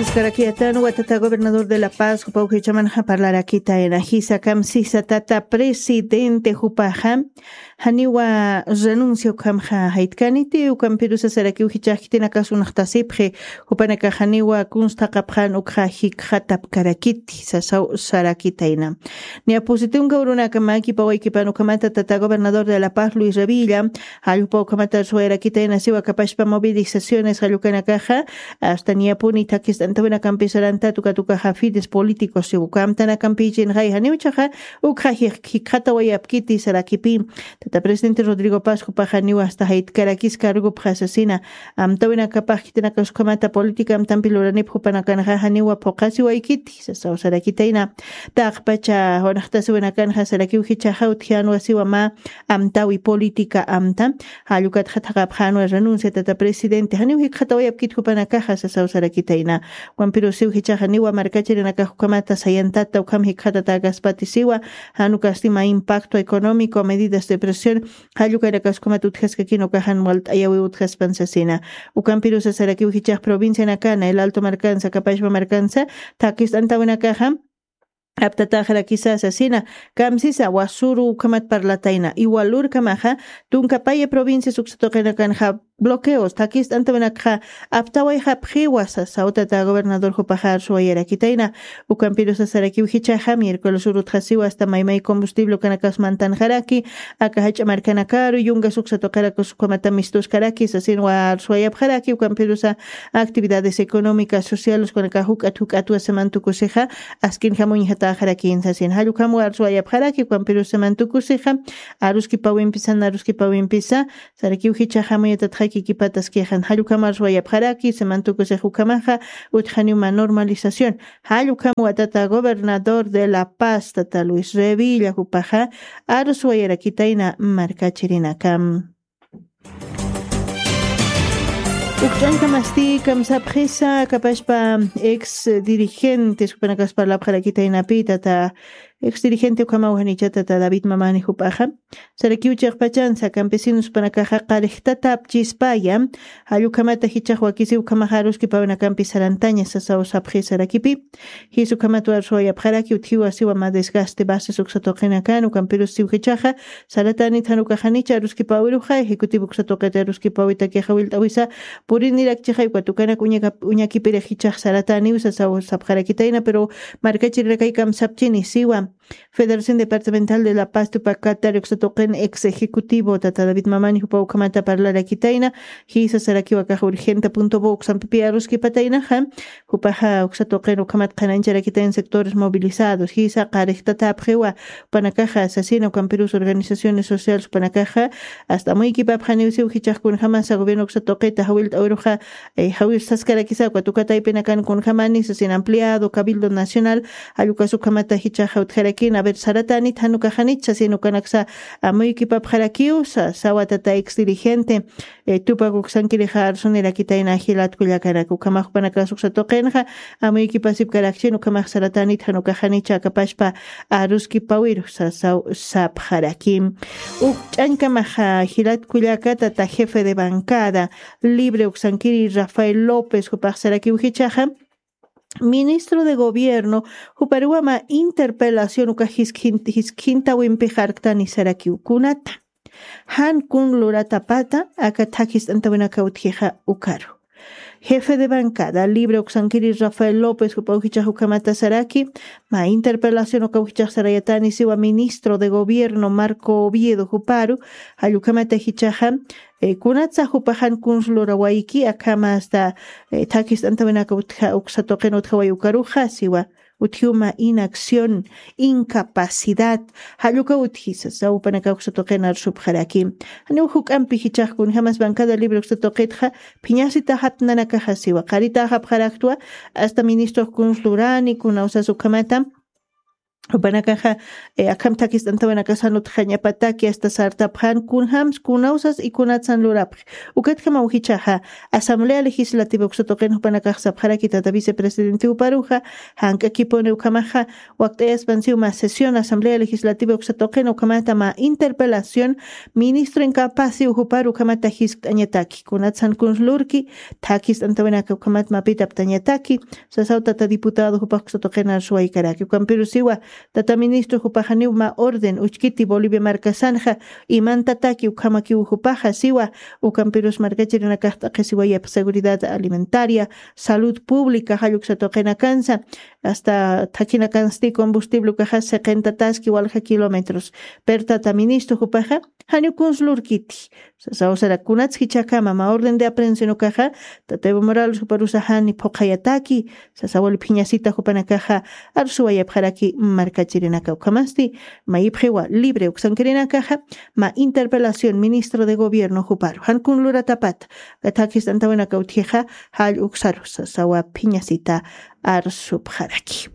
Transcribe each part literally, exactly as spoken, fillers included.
Iskarakiyatan watata gobernador de La Paz jupa ujichamanxa parlarakitayna jisakam sisa tata presidente jupaxa janiwa renuncia ukhamxa jaytkaniti ukampirusa sarakiw jichaxkitinakas unxtasipxi jupanakaxaniwa kunstaqapxan ukxa jikxatapkarakiti sasaw sarakitayna. Niyapusitunka urunakamakipawaykipan ukhamata tata gobernador de La Paz Luis Revilla jallwpa ukhamata suwayarakitayna siwa kapashpa movilizaciones jallukanakaxa hasta niyapuni thakist'antawinakampi saranta tuka tukaxa fides políticos siwa ukamtanakampichin jay janiwchaxa ukxa jikxatawayapkiti sarakipi. Tata presidente Rodrigo Paz jupaxa niwa hasta jaytkarakis cargopxa sasina amtawinakapax khitinakasukhamata política amtampi luranip jupanakanxa janiwa phuqasiwaykiti sasaw sarakitayna. Taqpacha junaxtasiwinakanxa sarakiw jichaxa utjianwa siwa mä amtawi política amta jallukatxa thaqapxanwa renuncia tata presidente janiw jikxatawayapkit jupanakaxa sasaw sarakitayna. Ukampirusiw jichaxa niwa markachirinakax ukhamata sayantata ukham jikxatata kaspatisiwa janukasti mä impacto económico medidas de presión jallukanakasukhamat utjaskakina ukaxan walt'ayawi utjaspan sasina. Ukampirusa sarakiw jichax provincianakana el alto markansa kapashpa markansa thakist'antawinakaxa aptataxarakisa sasina. Kamsisa wasuru ukhamat parlatayna iwalurkamaxa tunkapaya provincias uksatuqinakanxa bloqueos thakist'antawinakxa aptawayxapxiwa sasaw tata gobernador jupaxa arsuwayarakitayna. Ukampirusa sarakiw jichaxa miércoles urutxasiwa hasta maymay combustible ukanakas mantanxaraki aka jach'a markanakaru yungas uksatuqirakus ukhamata mistuskaraki sasinwa arsuwayapxaraki ukampirusa actividades económicas sociales kunakax juk'at juk'atwa semantukusixa askin jamuñjatäxarakin sasin jallukhamwa arsuwayapxaraki ukampirus semantukusixa aruskipawimpisa naruskipawimpisa sarakiw jichaxa amuyatatxakikipataskixan jallukhamwa arsuwayapxaraki semantukusix ukhamaxa utjaniw mä normalización. Jallukhamwa tata gobernador de La Paz tata Luis Revilla jupaxa arsuwayarakitayna markachirinakam. Ukch'ankamasti kamsapxisa kapashpa ex dirigentes jupanakas parlapxarakitaynapi tata ex dirigente ukhamaw janicha tata David Mamani jupaxa sarakiw chiqpachansa campesinos jupanakaxa qarixtatapchispaya jallukhamata jichax wakisiw ukhamaxa aruskipawinakampi sarantaña sasaw sapxi sarakipi. Jis ukhamat arsuwayapxaraki utjiwa siwa mä desgaste bases uksatuqinakan ukampirus siw jichaxa saratanit janukaxanicha aruskipawiruxa ejecutivo uksatuqita aruskipawitakixa willt'awisa purinirakchixay uka tukanak uñakipirix jichax sarataniw sasaw sapxarakitayna pero markachirinakay kamsapchini siwa Federación Departamental de La Paz tupak katari uksatuqin ex ejecutivo tata David Mamani jupa ukhamata parlarakitayna. Jisa sarakiw akax urgente punto bo uksampipi aruskipataynaxa jupaxa uksatuqin ukhamat qhanañcharakitayn sectores movilizados jisa qarixtatapxiwa jupanakaxa sasina ukampirus organizaciones sociales jupanakaxa hasta amuykipapxaniw siw jichax kunjamasa gobierno uksatuqita jawillt'awiruxa jawir saskarakisa uka tuka taypinakan kunjamani sasin ampliado cabildo nacional jallukasukhamata jichaxa utjarakina a ver saratanit janukaxanit sasin ukanaksa amuykipapxarakiw sasawa tata ex dirigente. Tupak uksankirixa arsunirakitayna jilat kullakanaka ukhamax jupanakax uksatuqinxa amuykipasipkarakchin ukhamax saratanit janukaxanicha akapashpa aruskipawiru sasaw sapxaraki. Ukch'añkamaxa jilat kullaka tata jefe de bancada libre uksankiri Rafael López jupax sarakiw jichaxa ministro de gobierno juparuwama interpelación uka jiskhintawimpi jarktani sarakiw kunata jan kun luratapata aka thakist'antawinaka utjixa ukaru jefe de bancada libre uksankiri Rafael López jupa ujichax ukhamata saraki mä interpelación uka ujichax sarayatani siwa ministro de gobierno Marco Oviedo juparu jallukhamata jichaxa kunatsa jupaxan kunsu lurawayki akhama asta thakist'antawinaka utja uksatuqin utjaway ukaruxa siwa utjiwma inacción incapacidad jalluka utjisa sawpanaka uksatuqin arsupxaraki. Janiw juk'ampi jichax kunjamas bancada libre uksatuqitxa phiñasita japnanakaxa siwa qarita japxaraktwa asta ministro kunsu lurani kunawsas ukhamata Jupanakaxa, eh, akham thakist'antawinakasan utjañapataki hasta sartapxan kunjams, kunawsas y kunatsan lurapxi. Ukatjamaw jichhaxa, Asamblea Legislativa uksa tuqin jupanakax sapxaraki tata vicepresidente juparuxa, jank'akipuni ukhamaxa, wakt'ayaspan siw mä sesión Asamblea Legislativa uksa tuqin ukhamata mä interpelación ministro incapacio juparu ukhamata jiskt'añataki. Kunatsan kuns lurki, thakist'antawinaka ukhamat mapitaptañataki, sasaw tata diputado jupax uksa tuqin arsuwaykaraki. Ukampiru siwa, tata ministro jupaxaniw mä orden uchkiti Bolivia markasanxa, imantataki ukhamakiw jupaxa siwa, ukampirus markachirinakax t'aqhisiwayap seguridad alimentaria, salud pública, jall uksa tuqinakansa, hasta thakinakansti combustible ukaxa siqintataski walja kilómetros. Pero tata ministro jupaxa, janiw kuns lurkiti. Sasaw sara kunats jichhakama mä orden de aprehensión ukaxa, tata Evo Morales juparusa jani phuqhayataki, sasaw wali phiñasita jupanakaxa, arsuwayapxaraki markachirinaka ukhamasti, mayipxiwa libre uksankirinakaxa, mä interpelación ministro de gobierno juparu. Jan kun luratapata, thakist'antawinaka utjixa, jall uksaru, sasawa phiñasita arsupxaraki.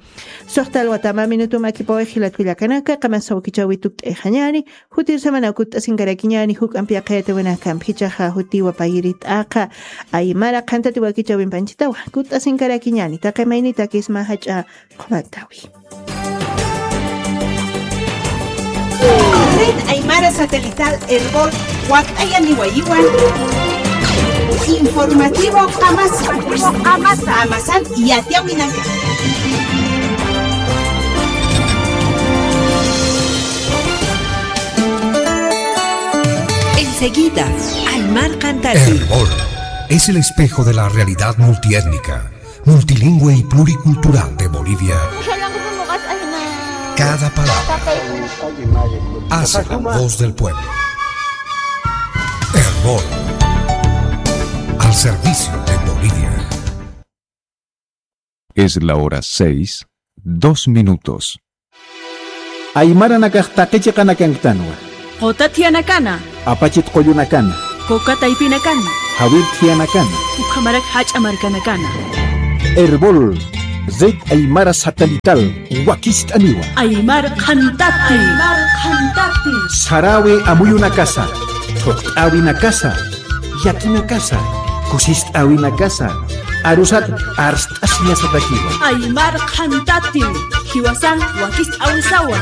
Suxta alwata mä minutum akipawix jilat kullakanaka, qamasa wakichäwi tukt'ayxañäni, jutir semana kutt'asinkarakiñäni, juk'amp yaqhayatawinakamp jichhaxa jutiwa payiri t'aqa, aymara qhantati wakichäwimp anchhitawa, kutt'asinkarakiñäni, taqi maynitakisma jach'a qhumatäwi. Red Aymara Satelital Erbol wakt'ayaniwayiwan. Informativo Qamasa. Qamasa. Qamasan yatiyawinaka. Enseguida, Aymar Qantati. Erbol es el espejo de la realidad multiétnica, multilingüe y pluricultural de Bolivia. Cada palabra hace la voz del pueblo. Erbol, al servicio de Bolivia. Es la hora seis, dos minutos. Aymaranakax taqi chiqanakankitanwa. Quta thiyanakana. Apachit qullunakana. Kuka taypinakana. Jawir thiyanakana. Ukhamarak jach'a markanakana. Erbol, Red Aymara Satelital, wakist'aniwa. Aymar Qhantati. Aymar Qhantati. Sarawi amuyunakasa, thuqt'awinakasa, yakinakasa, kusist'awinakasa, arusat arst'asiñasatakiwa. Aymar Qhantati, jiwasan wakist'awisawa.